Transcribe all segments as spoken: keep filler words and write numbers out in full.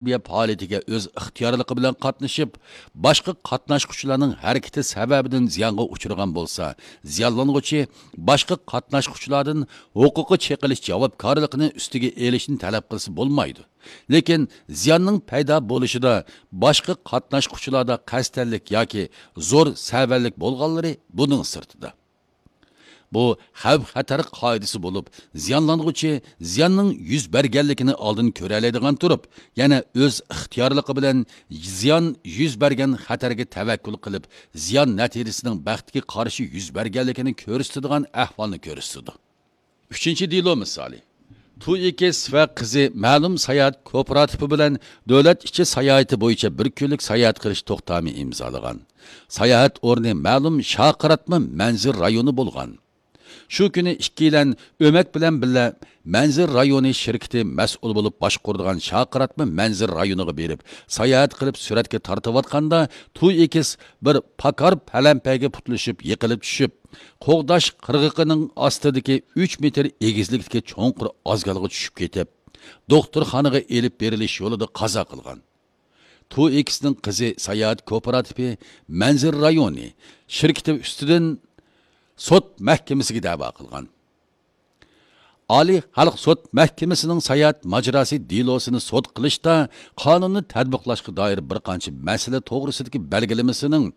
تەنتەربىيە پائالىيىتىگە ئۆز ئىختىيارلىقى بىلەن قاتنىشىپ، باشقا قاتناشقۇچىلارنىڭ ھەرىكىتى سەۋەبىدىن زىيانغا ئۇچرىغان بولسا، زىيانلانغۇچى باشقا قاتناشقۇچىلاردىن ھوقۇقى چېقىلىش جاۋابكارلىقىنى ئۈستىگە ئېلىشنى تەلەپ قىلسا بولمايدۇ. لېكىن زىياننىڭ پەيدا بولۇشىدا باشقا قاتناشقۇچىلاردا قەستەنلىك ياكى زور سەۋەنلىك بولغانلىرى بۇنىڭ سىرتىدا. بۇ خەۋپ-خەتەر قائىدىسى بولۇپ، زىيانلانغۇچى زىياننىڭ يۈز بەرگەنلىكىنى ئالدىن كۆرەلەيدىغان تۇرۇپ، يەنە ئۆز ئىختىيارلىقى بىلەن زىيان يۈز بەرگەن خەتەرگە تەۋەككۈل قىلىپ، زىيان نەتىجىسىنىڭ بەختكە قارشى يۈز بەرگەنلىكىنى كۆرسىتىدىغان ئەھۋالنى كۆرسىتىدۇ. ئۈچىنچى دېلو مىسالى. تۇ ئېكس ۋە قىزى مەلۇم ساياھەت كوپىراتىپى بىلەن دۆلەت ئىچى ساياھىتى بويىچە بىر كۈنلۈك ساياھەت قىلىش توختامى ئىمزالىغان. ساياھەت ئورنى مەلۇم شارقىراتما مەنزىرە رايونى بولغان. شۇ كۈنى ئىككىيلەن ئۆمەك بىلەن بىللە مەنزىرە رايونى شىركىتى مەسئۇل بولۇپ باشقۇرىدىغان شارقىراتما مەنزىرە رايونىغا بېرىپ، ساياھەت قىلىپ سۈرەتكە تارتىۋاتقاندا، تۇ ئېكس بىر پاكار پەلەمپەيگە پۇتلىشىپ يىقىلىپ چۈشۈپ، قوغداش قىرغىقىنىڭ ئاستىدىكى ئۈچ مېتىر ئېگىزلىكتىكى چوڭقۇر ئازگالغا چۈشۈپ كېتىپ، دوختۇرخانىغا ئېلىپ بېرىلىش يولىدا قازا قىلغان. تۇ ئېكسنىڭ قىزى ساياھەت كوپىراتىپى مەنزىرە رايونى شىركىتى ئۈستىدىن سوت مەھكىمىسىگە دەۋا قىلغان. ئالىي خەلق سوت مەھكىمىسىنىڭ ساياھەت ماجىراسى دېلوسىنى سوت قىلىشتا قانۇننى تەتبىقلاشقا دائىر بىر قانچە مەسىلە توغرىسىدىكى بەلگىلىمىسىنىڭ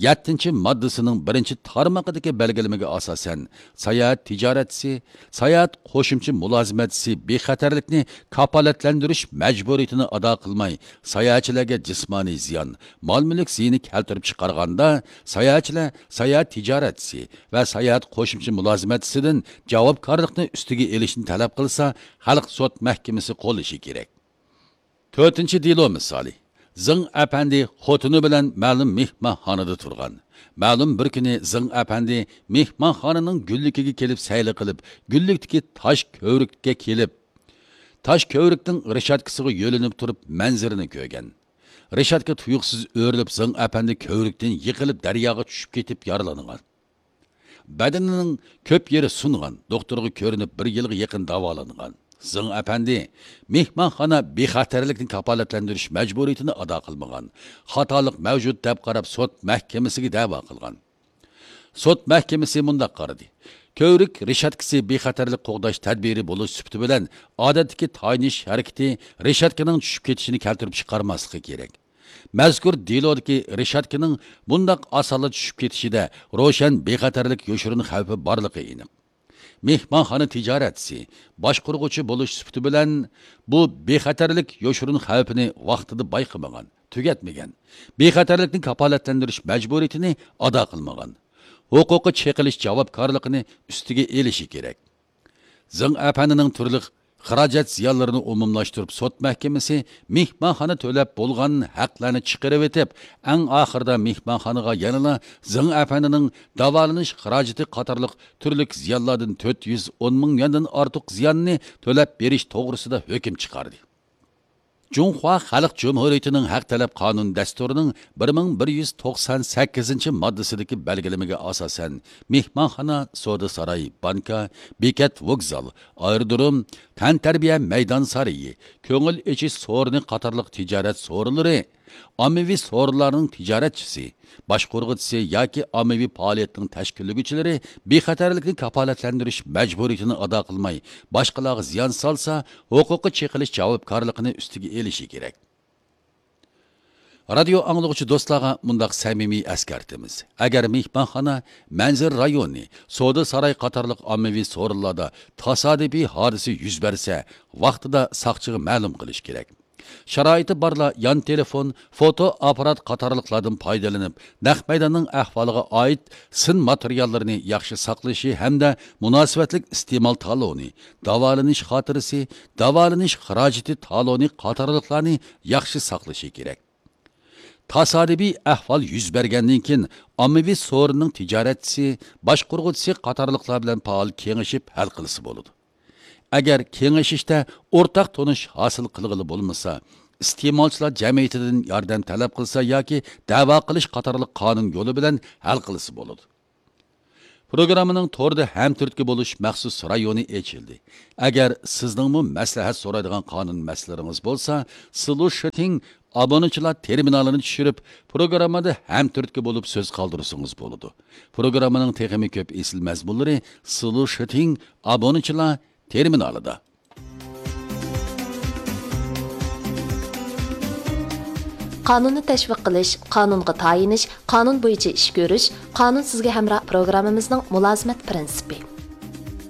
يەتتىنچى ماددىسىنىڭ بىرىنچى تارمىقىدىكى بەلگىلىمىگە ئاساسەن، ساياھەت تىجارەتچىسى، ساياھەت قوشۇمچە مۇلازىمەتچىسى بىخەتەرلىكنى كاپالەتلەندۈرۈش مەجبۇرىيىتىنى ئادا قىلماي، ساياھەتچىلەرگە جىسمانىي زىيان، مال-مۈلۈك زىيىنى كەلتۈرۈپ چىقارغاندا، ساياھەتچىلەر ساياھەت تىجارەتچىسى ۋە ساياھەت قوشۇمچە مۇلازىمەتچىسىدىن جاۋابكارلىقنى ئۈستىگە ئېلىشنى تەلەپ قىلسا، خەلق سوت مەھكىمىسى قوللىشى كېرەك. تۆتىنچى دېلو مىسالى. زېڭ ئەپەندى خوتۇنى بىلەن مەلۇم مېھمانخانىدا تۇرغان. مەلۇم بىر كۈنى زېڭ ئەپەندى مېھمانخانىنىڭ گۈللۈكىگە كېلىپ سەيلە قىلىپ، گۈللۈكتىكى تاش كۆۋرۈككە كېلىپ، تاش كۆۋرۈكنىڭ رېشاتكىسىغا يۆلىنىپ تۇرۇپ مەنزىرىنى كۆرگەن. رېشاتكا تۇيۇقسىز ئۆرۈلۈپ، زېڭ ئەپەندى كۆۋرۈكتىن يىقىلىپ دەرياغا چۈشۈپ كېتىپ يارىلانغان. بەدىنىنىڭ كۆپ يېرى سۇنغان، دوختۇرغا كۆرۈنۈپ بىر يىلغا يېقىن داۋالانغان. زېڭ ئەپەندى مېھمانخانا بىخەتەرلىكنى كاپالەتلەندۈرۈش مەجبۇرىيىتىنى ئادا قىلمىغان، خاتالىق مەۋجۇت دەپ قاراپ سوت مەھكىمىسىگە دەۋا قىلغان. سوت مەھكىمىسى مۇنداق قارىدى: كۆۋرۈك رېشاتكىسى بىخەتەرلىك قوغداش تەدبىرى بولۇش سۈپىتى بىلەن ئادەتتىكى تايىنىش ھەرىكىتى رېشاتكىنىڭ چۈشۈپ كېتىشىنى كەلتۈرۈپ چىقارماسلىقى كېرەك. مەزكۇر دېلودىكى رېشاتكىنىڭ بۇنداق ئاسانلا چۈشۈپ كېتىشىدە روشەن بىخەتەرلىك يوشۇرۇن خەۋپى بارلىقى ئېنىق. مېھمانخانا تىجارەتچىسى، باشقۇرغۇچى بولۇش سۈپىتى بىلەن بۇ بىخەتەرلىك يوشۇرۇن خەۋپىنى ۋاقتىدا بايقىمىغان، تۈگەتمىگەن، بىخەتەرلىكنى كاپالەتلەندۈرۈش مەجبۇرىيىتىنى ئادا قىلمىغان، ھوقۇقى چېقىلىش جاۋابكارلىقىنى ئۈستىگە ئېلىشى كېرەك. زېڭ ئەپەندىنىڭ تۈرلۈك خىراجەت زىيانلىرىنى ئومۇملاشتۇرۇپ، سوت مەھكىمىسى مېھمانخانا تۆلەپ بولغان ھەقلەرنى چىقىرىۋېتىپ، ئەڭ ئاخىرىدا مېھمانخانىغا يەنىلا زېڭ ئەپەندىنىڭ داۋالىنىش خىراجىتى قاتارلىق تۈرلۈك زىيانلاردىن تۆت يۈز ئون مىڭ يۈەندىن ئارتۇق زىياننى تۆلەپ بېرىش توغرىسىدا ھۆكۈم چىقاردى. جۇڭخۇا خەلق جۇمھۇرىيىتىنىڭ ھەق تەلەپ قانۇن دەستۇرىنىڭ بىر مىڭ بىر يۈز توقسان سەككىزىنچى ماددىسىدىكى بەلگىلىمىگە ئاساسەن، مېھمانخانا، سودا ساراي، بانكا، بېكەت، ۋوگزال، ئايرودروم، تەنتەربىيە مەيدان سارىيى، كۆڭۈل ئېچىش سورۇنى قاتارلىق تىجارەت سورۇنلىرى، ئاممىۋى سورۇنلارنىڭ تىجارەتچىسى، باشقۇرغۇچىسى ياكى ئاممىۋى پائالىيەتنىڭ تەشكىللىگۈچىلىرى بىخەتەرلىكنى كاپالەتلەندۈرۈش مەجبۇرىيىتىنى ئادا قىلماي، باشقىلارغا زىيان سالسا، ھوقۇقى چېقىلىش جاۋابكارلىقىنى ئۈستىگە ئېلىشى كېرەك. رادىيو ئاڭلىغۇچى دوستلارغا مۇنداق سەمىمىي ئەسكەرتىمىز: ئەگەر مېھمانخانا، مەنزىرە رايونى، سودا ساراي قاتارلىق ئاممىۋى سورۇنلاردا تاسادىپىي ھادىسە يۈز بەرسە، ۋاقتىدا ساقچىغا مەلۇم قىلىش كېرەك. شارائىتى بارلار يان تېلېفون، فوتو ئاپپارات قاتارلىقلاردىن پايدىلىنىپ، نەق مەيداننىڭ ئەھۋالىغا ئائىت سىن ماتېرىياللىرىنى ياخشى ساقلىشى ھەمدە مۇناسىۋەتلىك ئىستېمال تالونى، داۋالىنىش خاتىرىسى، داۋالىنىش خىراجىتى تالونى قاتارلىقلارنى ياخشى ساقلىشى كېرەك. تاسادىپىي ئەھۋال يۈز بەرگەندىن كېيىن، ئاممىۋى سورۇننىڭ تىجارەتچىسى، باشقۇرغۇچىسى قاتارلىقلار بىلەن پائال كېڭىشىپ ھەل قىلسا بولىدۇ. ئەگەر كېڭىشىشتە ئورتاق تونۇش ھاسىل قىلغىلى بولمىسا، ئىستېمالچىلار جەمئىيىتىدىن ياردەم تەلەپ قىلسا ياكى دەۋا قىلىش قاتارلىق قانۇن يولى بىلەن ھەل قىلسا بولىدۇ. پروگراممىنىڭ توردا ھەمتۈرتكە بولۇش مەخسۇس رايونى ئېچىلدى. ئەگەر سىزنىڭمۇ مەسلىھەت سورايدىغان قانۇن مەسىلىلىرىڭىز بولسا، سلۇشىتىڭ ئابونېنتچىلار تېرمىنالىنى چۈشۈرۈپ، پروگراممىدا ھەمتۈرتكە بولۇپ سۆز قالدۇرسىڭىز بولىدۇ. پروگراممىنىڭ تېخىمۇ كۆپ ئېسىل مەزمۇنلىرى سلۇشىتىڭ ئابونېنتچىلار تېرمىنالىدا. قانۇننى تەشۋىق قىلىش، قانۇنغا تايىنىش، قانۇن بويىچە ئىش كۆرۈش، قانۇن سىزگە ھەمراھ پروگراممىمىزنىڭ مۇلازىمەت پىرىنسىپى.